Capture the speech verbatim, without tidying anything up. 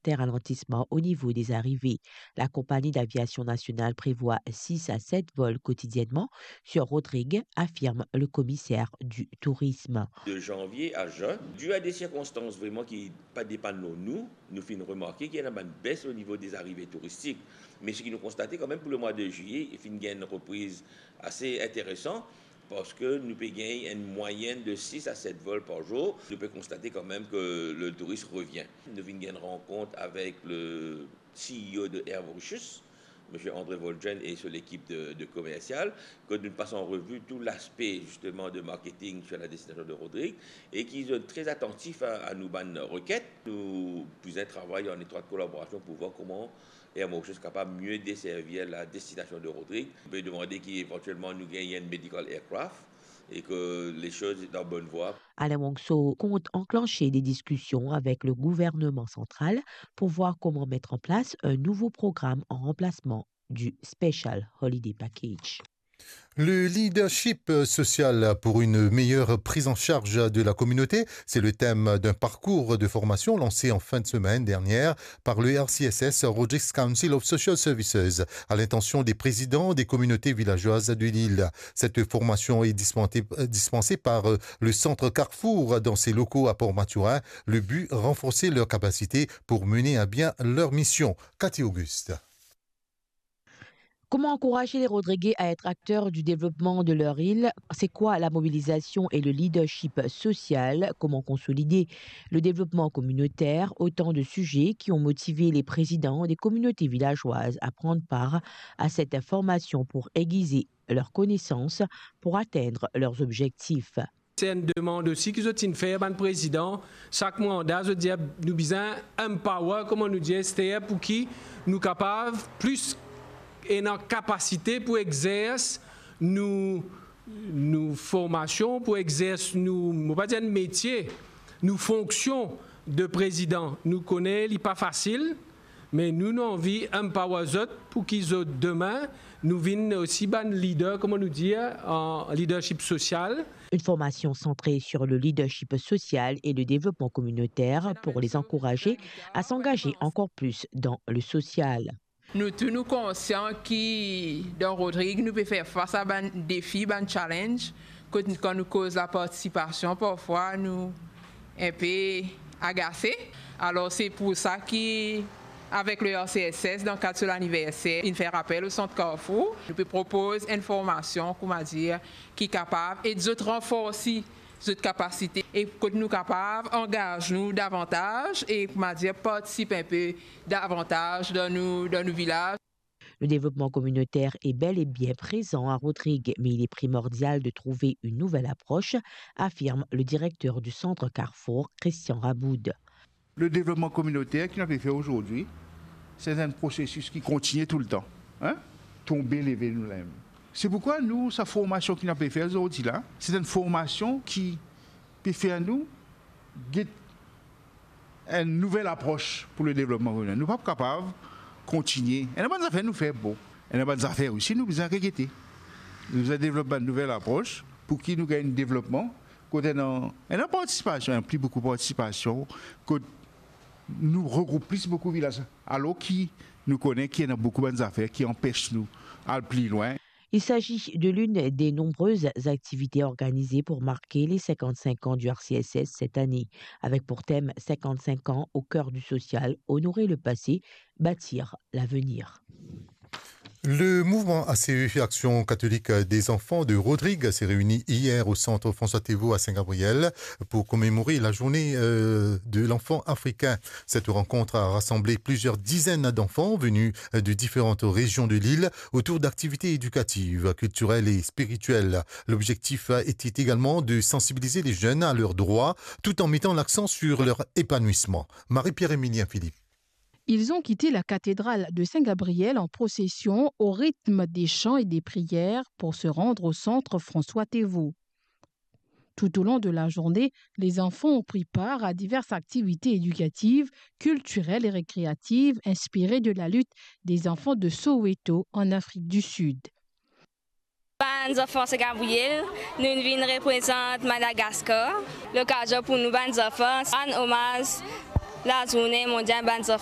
certains ralentissements au niveau des arrivées. La compagnie d'aviation nationale prévoit six à sept vols quotidiennement sur Rodrigues, affirme le commissaire du tourisme. De janvier à juin, dû à des circonstances vraiment qui pa depann lor nou, nou finn remarke ki ena bann bes o nivo de zarive touristik. Me seki nou konstate kanmem pou lemwa de zilye, finn gagn enn repriz ase interesan, parski nou pe gagn enn mwayinn de sis a set vol par zour. Nou pe konstate kanmem ke le tourism revien. Nou finn gagn enn rankont avek le C E O de Air Mauritius, Monsieur André Volgen et so lekip de, de komersial, ke nou pas an revi tou laspe, zisteman, de marketing sur la destination de Rodrigues, e ki zot tre atantif a, a nou bann reket. Nou bizin travay an etrwat kolaborasion pou vwar kouma Air Mauritius kapav mie deservi la destinasion de Rodrigues. Nou pe demande ki evantielman nou gagn enn medical aircraft e ke les choses est en bonne voie. Alain Wangso compte enclencher des discussions avec le gouvernement central pour voir comment mettre en place un nouveau programme en remplacement du Special Holiday Package. Le leadership social pour une meilleure prise en charge de la communauté, c'est le thème d'un parcours de formation lancé en fin de semaine dernière par le R C S S, Rodrigues Council of Social Services, à l'intention des présidents des communautés villageoises de l'île. Cette formation est dispensée, dispensée par, euh, le centre Carrefour dans ses locaux à Port Mathurin. Le but, renforcer leurs capacités pour mener à bien leur mission. Cathy Auguste. Comment encourager les Rodriguais à être acteurs du développement de leur île ? C'est quoi la mobilisation et le leadership social ? Comment consolider le développement communautaire ? Autant de sujets qui ont motivé les présidents des communautés villageoises à prendre part à cette formation pour aiguiser leurs connaissances pour atteindre leurs objectifs. Se enn demann osi ki zot inn fer bann prezidan, sak manda zot dir nou bizin empower, kouma nou dir ester, pou ki nou kapav plis ena kapasite pou exers nou, nou formasion, pou exers nou, mo pa dir metie, nou fonksion de prezidan. Nou kone li pa fasil, me nou, nou anvi empower zot pou ki zot demin, nou vinn osi bann leader, kouma nou dir, an leadership social. Une formation centrée sur le leadership social et le développement communautaire pour les encourager à s'engager encore plus dans le social. Nou tou nou konsian ki dan Rodrigues nou pe fer fas a bann defi, bann challenge, kot kan nou koz lapartisipasion, parfwa nou enpe agase. Alor, se pou sa ki, avek le R C S S, dan kad so laniverser, inn fer apel o sant Carrefour. Nou pe propoz enn formasion, kouma dir, ki kapav ed zot ranforsi zot kapasite e kot nou kapav angaz nou davantaz e, kouma dir, partisip enpe davantaz dan nou, dan nou vilaz. Le développement communautaire est bel et bien présent à Rodrigues, mais il est primordial de trouver une nouvelle approche, affirme le directeur du centre Carrefour, Christian Raboud. Le devlopman kominoter ki nou pe fer azordi, se enn prosesis ki kontigne toultan, hein? Tonbe, leve, nou leve. Se poukwa nou, sa formasion ki nou pe fer azordi la, se enn formasion ki pe fer nou get enn nouvel apros pou le devlopman kominoter. Nou pa kapav kontigne. Ena bann zafer nou fer bon. Ena bann zafer osi nou bizin regete. Nou bizin devlop bann nouvel apros pou ki nou gagn devlopman, kot ena, ena partisipasion, ena pli boukou partisipasion, kot nou regroup pli boukou vilaz. Alor ki nou kone ki ena boukou bann zafer ki anpes nou al pli lwin. Il s'agit de l'une des nombreuses activités organisées pour marquer les cinquante-cinq ans du R C S S cette année, avec pour thème cinquante-cinq ans au cœur du social, honorer le passé, bâtir l'avenir. Le mouvement A C E, Action Catholique des Enfants de Rodrigues, s'est réuni hier au centre François Théveaud à Saint-Gabriel pour commémorer la journée, euh, de l'enfant africain. Cette rencontre a rassemblé plusieurs dizaines d'enfants venus, euh, de différentes régions de l'île autour d'activités éducatives, culturelles et spirituelles. L'objectif était également de sensibiliser les jeunes à leurs droits tout en mettant l'accent sur leur épanouissement. Marie-Pierre Emilien Philippe. Ils ont quitté la cathédrale de Saint-Gabriel en procession au rythme des chants et des prières pour se rendre au centre François Théveaud. Tout au long de la journée, les enfants ont pris part à diverses activités éducatives, culturelles et récréatives inspirées de la lutte des enfants de Soweto en Afrique du Sud. Bann zanfan Saint-Gabriel, nou vinn reprezant Madagaskar. Lokazion pou nou bann zanfan rann omaz lazourne mondial bann zanfan.